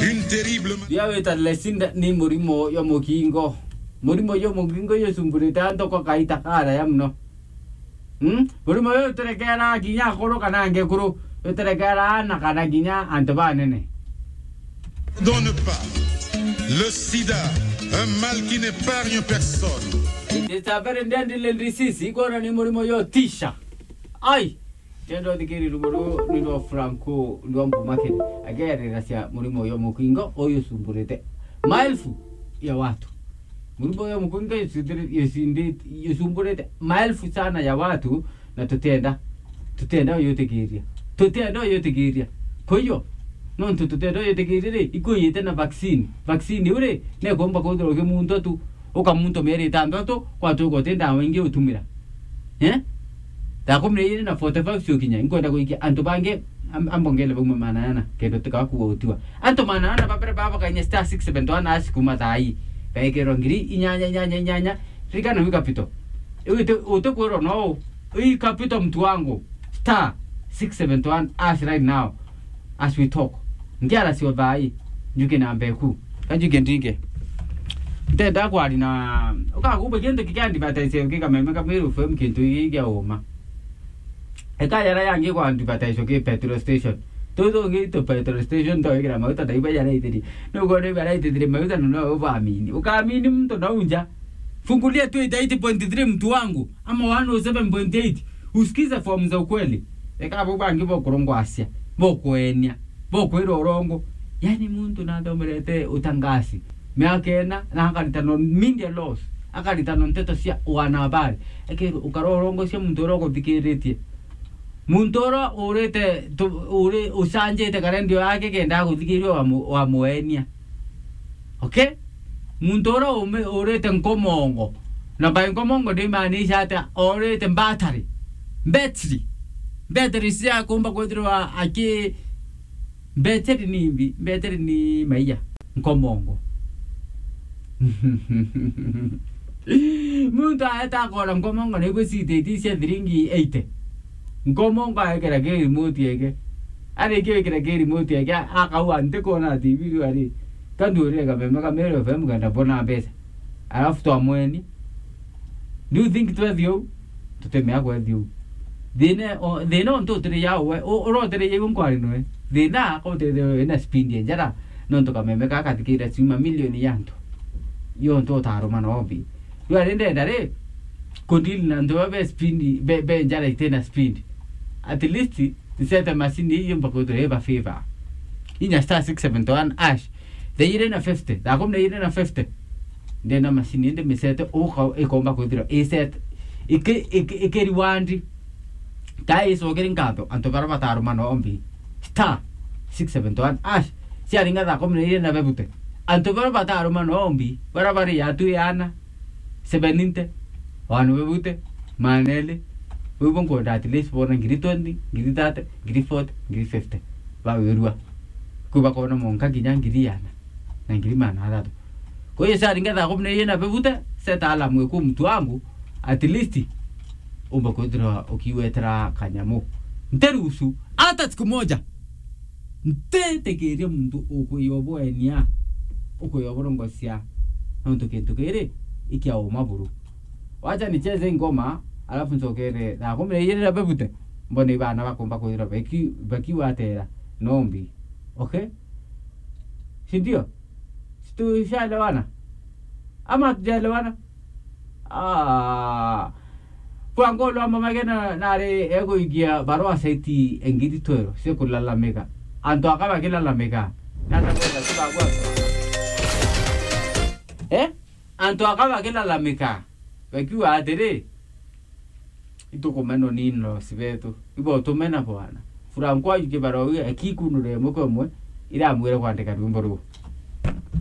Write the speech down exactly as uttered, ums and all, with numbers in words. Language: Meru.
Une terrible ma- Ria wita Lesinda ni murimo yo mukingo. Murimo yo mukingo yo sumburite antu kwa kaita karaya muno. Hmm? Murimo yo uterekera kinya akuru kana angekuru, uterekera ana kana kinya antu banene. Pardonne pas. Le sida, un mal qui n'épargne personne. It is a very deadly disease. Igona ni murimo yo tisha. Ai! Tendo thikiri rumo ru ni rwa Franco rwa Mbumakiri. Agerera cia murimo yo mukingo uyu sumburite maelfu ya watu. Murimo yo mukingo yusindiri-, yusindi-, yusumburite maelfu sana ya watu, na tutenda, tutenda uyutikiria. Tutenda uyutikiria. Kwa hiyo, nontu tutenda uyutikiria ri, ikuyite na vaccine. Vaccine iu ri, nekomba kwithirwa ukimuntwa tu, ukamuntwa mieri itantatu, kwatuka uti ndawa ingi utumira. Eh? Thaa kumi na iri na forty-five cio kinya, inkwenda guikia antu bangi am-, ambongele bauma manana, kenda tukaga kuwa utiwa. Antu manana babere baba kainya star six seven one hash kuma thaa ii. Baikirwa ngiri inyanya, inyanya, inyanya. Ririkana wi capital. Iu iti-, utikwirwa no, wi capital mtu wangu. Star six seven one hash right now. As we talk. Ngiara cio thaa ii. Njuke na mbeku. Kanjuke ndinge. Ntenda kwari na, ukakumba kintu kikia advertise kikameme Kameru F M kintu giki kia uma. Eka yara yangi kwa advertise ki petrol station. Tuthungi tu petrol station, ndoikira mauta ndaiba yaraithirie. Nukwona iba yaraithirie mauta, no, no ubaamini. Ukaamini muntu no unja. Fungulia twenty-eight point three mtu wangu, ama one oh seven point eight. Usikize fomu za ukweli. Eka abo bangi bokurongwasia, bokwenia, bokwira urongo. Yani muntu nathomerete utangasi miaka ina, na akaritana media laws, akaritana nteto cia wanahabari. Ekero ukara urongocia muntu uria uguthikiritie. Muntu uria urite tu-, uri ucanjite kana ndio yake kenda aguthikiria wamu-, wamuenia. Okay? Muntu uria ume-, urite nkomongo. Na by nkomongo ndimaanisha ati orite mbatari. Mbetiri. Mbetiri cia kumba kwithirwa aki-, mbetiri ni mbi, mbetiri ni maiya. Nkomongo. Muntu aeta akona nkomongo naigwe cititi cia thiringi eighty. Nkomongo aekera ki remote yake. Arikia gwikira ki remote yake, a-, akaua nti kwona T V riu ari. Kandu urire kameme ka Meru F M kenda mbona mbeca. Arafu twamweni. Do you think twethi uu? Tutimea kwethi uu. Thina o-, thina ontu utiriria uwe, u-, urotiriria iwe nkwari noe. Thina ko utiriria ina speed ya njara, nontu kameme ka kathikira ciuma milioni ya antu. Yo ontu utaruma no mbi. Riu ari ndenda ri, kudili na antu ba be speed, be, be njara itina speed. At least, nsete macini ii yumba kwithirwa iba favor. Inya star six seven one hash. Thaa iri na fifty, thaa kumi na iri na fifty. Ndenda macini indi misete uka ikomba kwithirwa iset. Iki, iki, iki reward. Ka icokeri nkatho, antu bara bataruma no mbi. Star six seven one hash. Ciaringa thaa kumi na iri na bebute. Antu bara bataruma no mbi, bara bari yatu yana. Seventy, wanu bebute, maneli, wibo nkwenda at least bona ngiri twenty, ngiri thirty, ngiri forty, ngiri fifty. Bawirua. Kwi bakona monka kinya ngiri yana na ngiri mana athatu. Kwa hiyo, saringa thaa kumi na iri na bebute, set alarm iku mtu wangu, at least umba kwithirwa ukiwetera kanyamu. Nterusu, hata siku moja. Ntitikiria muntu ukwiyobwenia, ukwiyobworongocia, nontu kintu kiri ikia uma buru. Wacha nicheze ngoma, alafu ncokere thaa kumi na iri na bebute, mbone ibana bakumba kwithirwa baki-, bakiwatera nombi. Okay? Si ndio? Si tushaelewana? Ama hatujaelewana? Ah. Kwa ngolo ama magena nari eguikia barua saiti engiri twero cia kulalamika. Antu aka bakilalamika. Nata kwenda tukagwa. Eh? Antu aka bakilalamika. Bakiuga atiri, itukumenwa ni in-laws betu. Ibo tumena bwana. Franco ajukie barua iu, akikunure imwe kwa imwe, iramwire kwandika rwimbo ruu.